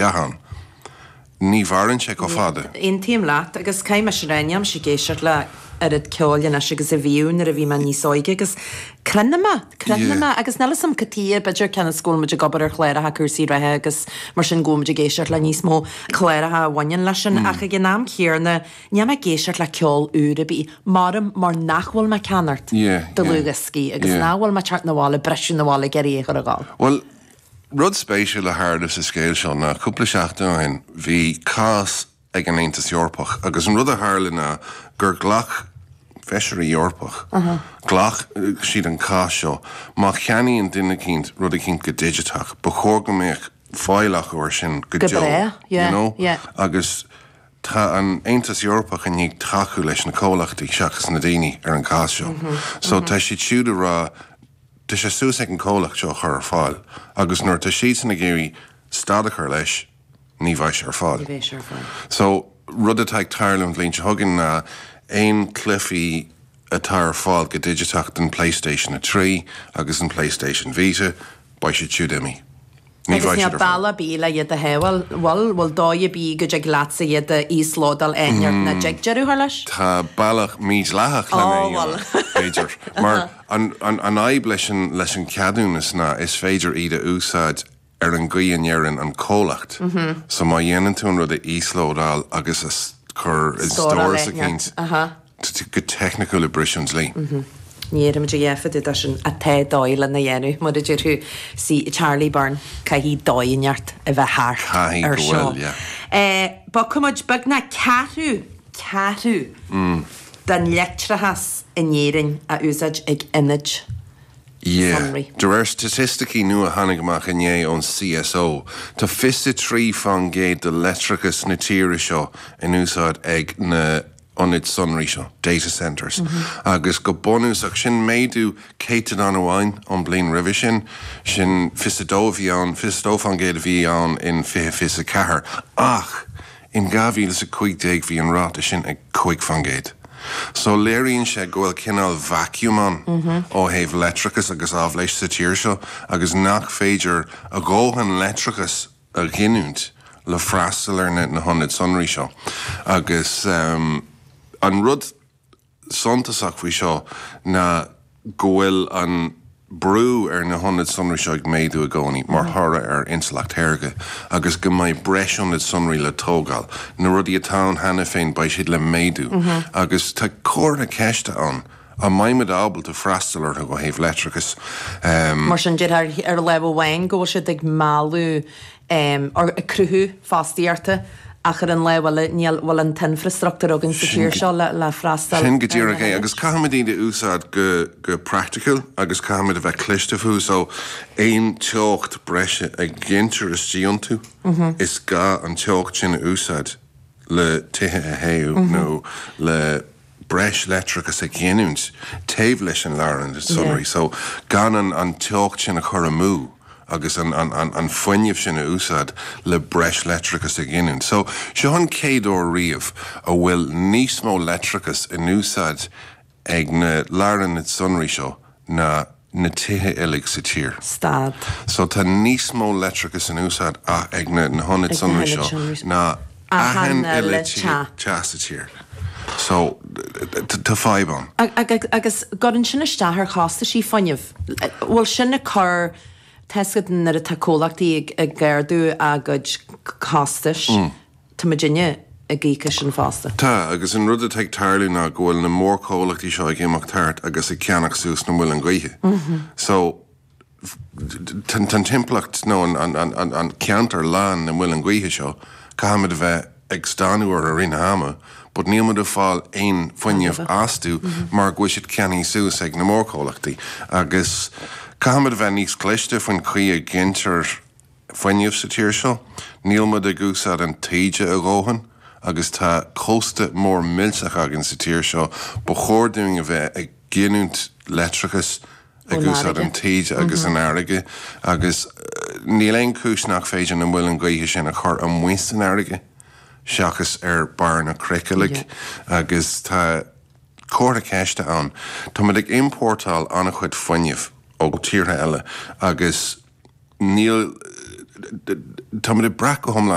Ann. Ní mhaireann sé chomh fada. Aontaím leat, agus caithfidh mise a rá, nílimse ag éisteacht le oiread ceoil anois agus a bhíodh nuair a bhí mé níos óige agus cronaim mé, cronaim mé, agus níl 'fhios a'm cad tuige, b'fhéidir cionn is go bhfuil muid ag obair ar chláracha cúrsaí reatha agus mar sin go bhfuil muid ag éisteacht le níos mó cláracha a bhaineann leis sin ach ag an am céanna níl mé ag éisteacht le ceol úr ar bith, maram mar nach bhfuil mé ag ceannacht dlúthdhioscaí agus nach bhfuil mé ag teacht 'na bhaile, briseadh 'na bhaile ag iarraidh é a chur ag gabháil. Bhuel, Rud spéisiúil a tharla sa scéal seo ná cúpla seachtain ó shin bhí cás ag an Aontas Eorpach agus an rud a tharla ná gur ghlac feisirí Eorpach, ghlac siad an cás seo, má cheannaíonn duine eicínt rud eicínt go digiteach, ba chóir go mbeadh fáil acu air sin go deo, you know, agus tá an Aontas Eorpach i ndiaidh tacú leis na comhlachtaí seachas na daoine ar an gcás seo. So tá siad siúd ag rá Tá sé suas ag an comhlacht seo a chur ar fáil agus nuair atá siadsan ag iarraidh stad a chur leis, ní bheidh sé ar fáil. Ní bheidh sé ar fáil. So, rud atá ag tarlú an bhliain seo chugainn ná aon cluichí atá ar fáil go digiteach don PlayStation 3 agus an PlayStation Vita, beidh siad siúd imithe. Ní Agus bheidh níl siad ar fáil. bealach ar bith le iad a shábháil. Bhfuil, bhfuil dóigh ar bith go dtig leatsa iad a íoslódáil áit nach dtig deireadh a chur leis? Tá bealach mídhleathach lena Ó, bhfuil. dhéanamh, b'fhéidir. Mar an, an, an fhadhb leis an, leis an ceadúnas ná is féidir iad a úsáid ar an gcaoi a ndeireann an comhlacht. So má dhéanann tú an rud a íoslódáil agus a chur i Stóráil stóras eicínt, Aha. go teicniciúil ag briseadh an dlí. Ní déarfaimid a dhath fá dtaobh de sin ach tá dóigh lena dhéanamh, mar a deir tú. See, Charlie Byrne, caithfidh dóigh inteacht a bheith thart Caithfidh ar go seo. bhfuil, yeah. Bogfaidh muid beagnach ceathrú, ceathrú den leictreachas in Éirinn á úsáid ag ionaid Yeah. sonraí. De réir staitisticí nua a tháinig amach inné ón CSO, tá 23% de leictreachas na tíre seo in úsáid ag na ionaid sonraí seo, data centres, agus go bunúsach, sin méadú céatadán amháin ón bliain roimhe sin, sin 22 a bhí ann, 22% a bhí ann in 2024, ach in 2015 bhí an ráta sin ag 5%. So léiríonn sé go bhfuil cineál vacuum ann ó thaobh leictreachas agus áibhléis sa tír seo agus nach féidir a dhóthain leictreachas a ghiniúint le freastal ar na hionaid sonraí seo. Agus an rud suntasach faoi seo ná go bhfuil an brú ar na hionaid sonraí seo ag méadú i gcónaí mar thoradh ar intleacht shaorga agus go mbeidh breis ionad sonraí le tógáil. Na rudaí atá ann cheana féin, beidh siad le méadú. Agus tá comhartha ceiste ann An mbeidh muid ábalta freastal orthu ó thaobh leictreachais? Mar sin, déarfá ar lámh amháin go bhfuil siad ag mealladh or ag cruthú fostaíochta ach ar an lámh eile níl bhfuil an t-infreastruchtúr againn sa tír seo le le freastal Sin go díreach é agus caithfimid iad a úsáid go go praiticiúil agus caithfimid a bheith cliste fúthu so aon teocht breise a ghintear istigh iontu is gá an teocht sin a úsáid le tithe a théamh nó le breis leictreachais a ghiniúint taobh leis an lárionad sonraí so gan an teocht sin a chur amú agus an fuinneamh sin a úsáid le breis leictreachais a ghiniúint. So seo an chéad uair riamh a bhfuil níos mó leictreachais in úsáid ag na lárionaid sonraí seo ná na tithe uilig sa tír. Stad. So tá níos mó leictreachais in úsáid ag na hionaid sonraí seo ná achan uile teach sa tír. So tá fadhb ann. Agus cuireann sin isteach ar chostaisí fuinnimh. Bhfuil sin ag cur, tá 'fhios agat nuair atá comhlachtaí ag ardú a gcuid costais, Tá muidinne ag íoc as sin fosta. Tá, agus an rud atá ag tarlú ná go bhfuil na mórchomhlachtaí seo ag imeacht thart agus ag ceannach suas na muileann gaoithe. So, tá an timpeallacht nó an ceantar lán na muileann gaoithe seo, caithfimid a bheith ag stánadh orthu i rith na hama, but níl muid ag fáil aon fuinneamh astu mar go bhfuil siad ceannaithe suas ag na mórchomhlachtaí. Agus caithfimid a bheith níos cliste faoin chaoi a ghintear fuinneamh sa tír seo. Níl muid ag úsáid an taoide a dhóthain agus tá cósta mór millteach againn sa tír seo. Ba chóir dúinn a bheith ag giniúint leictreachais ag úsáid an taoide agus an fharraige agus níl aon chúis nach féidir na muileann gaoithe sin a chur amuigh san fharraige seachas ar barr na cnoic uilig agus tá comhartha ceiste ann. Tá muid ag iompórtáil an-chuid fuinnimh ó tíortha eile agus. Níl. Táimid ag brath go hiomlán.